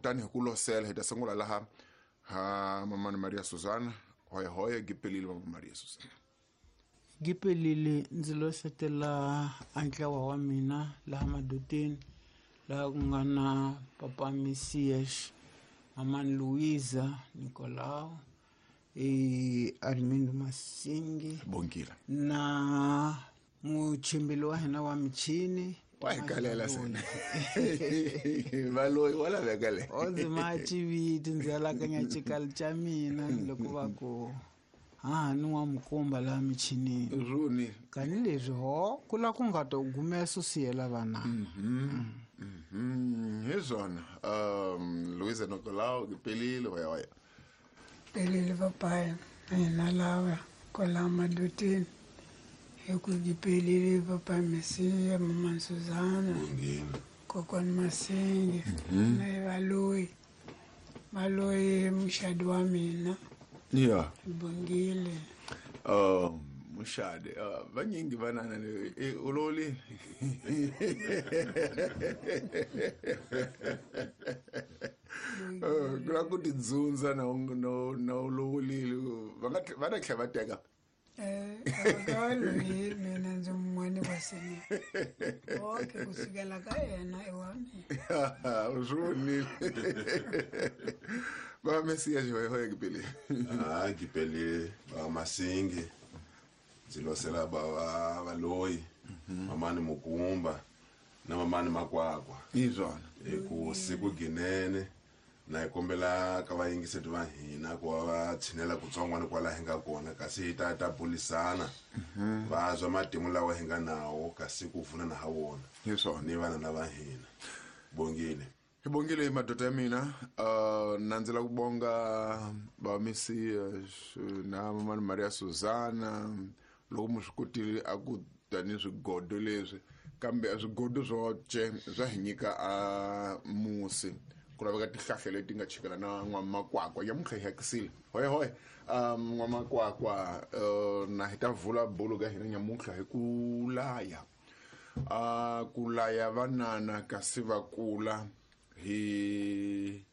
Kutani hi ku losela hi ta sungula laha ha Mamani Maria Susana. Hoya hoya gipelile Mama Maria Susana. Gipelile ndzi losetela a ntlawa wa mina laha madoteni, laha ku nga na Papa Messias, Mamani Luisa Nicolau, Armindo Masingi, Bongile, na muchimbili wa hina wa michini. Wa hi kalela sena. Valoyi wa laveka le. O ndzi ma chiviti ndzi alakanya xikalo xa mina loko va ku hahani wa mukumba laha michinini. Runi. Tanihileswi ho ku la ku nga ta gumesa siyela vana. Hi swona. Luisa Nicolau gipelile hoya hoya. Pelile papaya hina lava kwala madoteni. Hi ku gipelile Papa Messias, Mama Susana, Kokwani Masingi, na Valoyi. Valoyi muxadi wa mina. Yeah. Bongile. Muxadi, vanyingi vanana u loli. Ku la ku tidzundza na na u lovolile, va nga va ta tlhela va teka. Akaloyi mina ndzi mun'wani wa seni. Okay, kusukela ka yena i wa mina. U swi vonile. Va Messias hoya hoya gipelile. Ah, gipelile va Masingi. Ndzi losela va Valoyi, Mamani Mukumba na Mamani Makwakwa. Hi swona. Hi ku siku ginene na hi kombela ka vayingiseti va hina ku va va tshinela kutsongwana kwala hi nga kona, kasi hi ta ta bulisana. Va zwa matimu lawa hi nga nawo kasi ku pfunana ha wona. Hi swona. Ni vana lava hina. Bongile. Hi bongile madoda ya mina. Na ndzi la ku bonga va Messias na Mamani Maria Susana loko mi swi kotile a ku tani swigodo leswi, kambe a swigodo swo ce swa hi nyika a musi. Ku laveka tihlahla leti nga chikela na n'wamakwakwa. Nyamuntlha hi hakisile. Hoya hoya. N'wamakwakwa, na hi ta vula bolo ka hina nyamuntlha hi ku laya. Ku laya vanana kasi va kula hi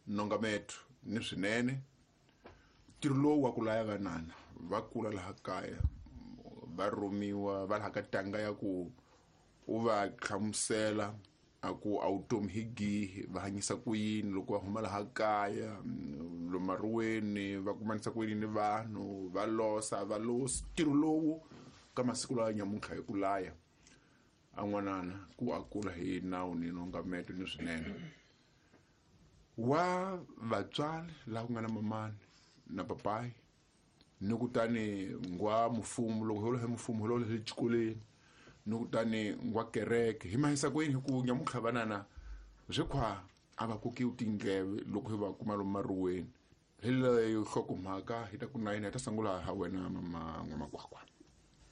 nongametho ni swinene. Ntirho lowu wa ku laya vanana va kula laha kaya, va rhumiwa va laha ka tanga ya ku u va hlamusela a ku a vutomi hi gihi, va hanyisa ku yini loko va huma laha kaya, lomaruweni va kumanisa ku yini ni vanhu, va losa, va losi. Ntirho lowu ka masiku lawa nyamuntlha hi ku laya a n'wanana ku a kula hi nawu ni nongameto ni swinene. Wa vatswari laha ku nga na mamani na papayi, ni kutani ngwa mfumo, loko hi lo hi mfumo hi lo hi xikolweni, ni kutani ngwa kereke. Hi mahisa ku yini hi ku nyamuntlha vanana swi khwa a va kokiwi tindleve loko hi va kuma lomu maruweni. Hi leyo nhlokomhaka hi ta ku na yini, hi ta sungula ha wena mama N'wamakwakwa.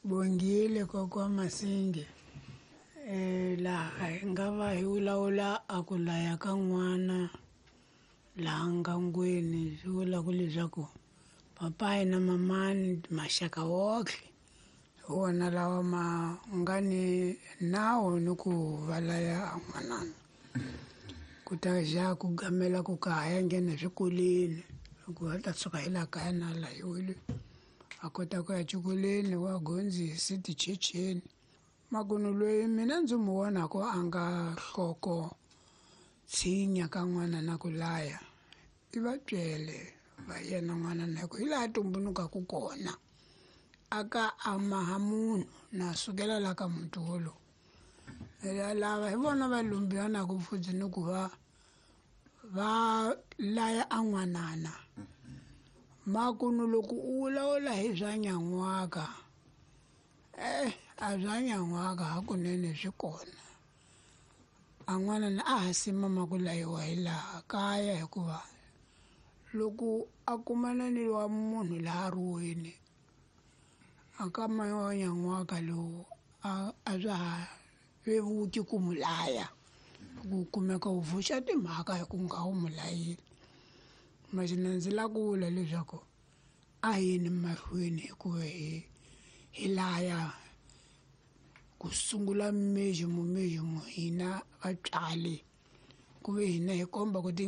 Bongile kokwa Masingi. Laha hi nga va hi vulavula a ku laya ka n'wana laha ngangweni, swi vula ku leswaku papayi na mamani maxaka wohle hi wona lawa ma nga ni nawu ni ku va laya a n'wanana. Ku ta ja ku gamela ku ka ha ya nghena eswikolweni, loko a ta tshuka hi laha kaya na layiwile a kota ku ya xikolweni wa gondzisi tichecheni. Makunu loyi mina ndzi n'wi vonaka a nga nhloko tshinya ka n'wana na ku laya, i vatswele va yena n'wana na ku hi laha tumbulukaka kona. A ka a maha munhu na sukela la ka muti wolowo. Lava hi vona va lumbiwanaka futhi ni ku va va laya a n'wanana. Makunu loko u vulavula hi swa nyan'waka, a swa nyan'waka hakunene swi kona. A n'wanana a ha simama ku layiwa hi laha kaya, hikuva loko a kumana ni wa munhu laha ruweni, a ka wa nyan'waka lowu a swa ha vevuki ku mu laya, ku kumeka u vuxa timhaka hi ku nga wu mu layile. Masina ndzi lava ku vula leswaku a yini mahlweni hikuva hi laya ku sungula mejimo mejimo hina vatswari, ku ve hina hi komba ku ti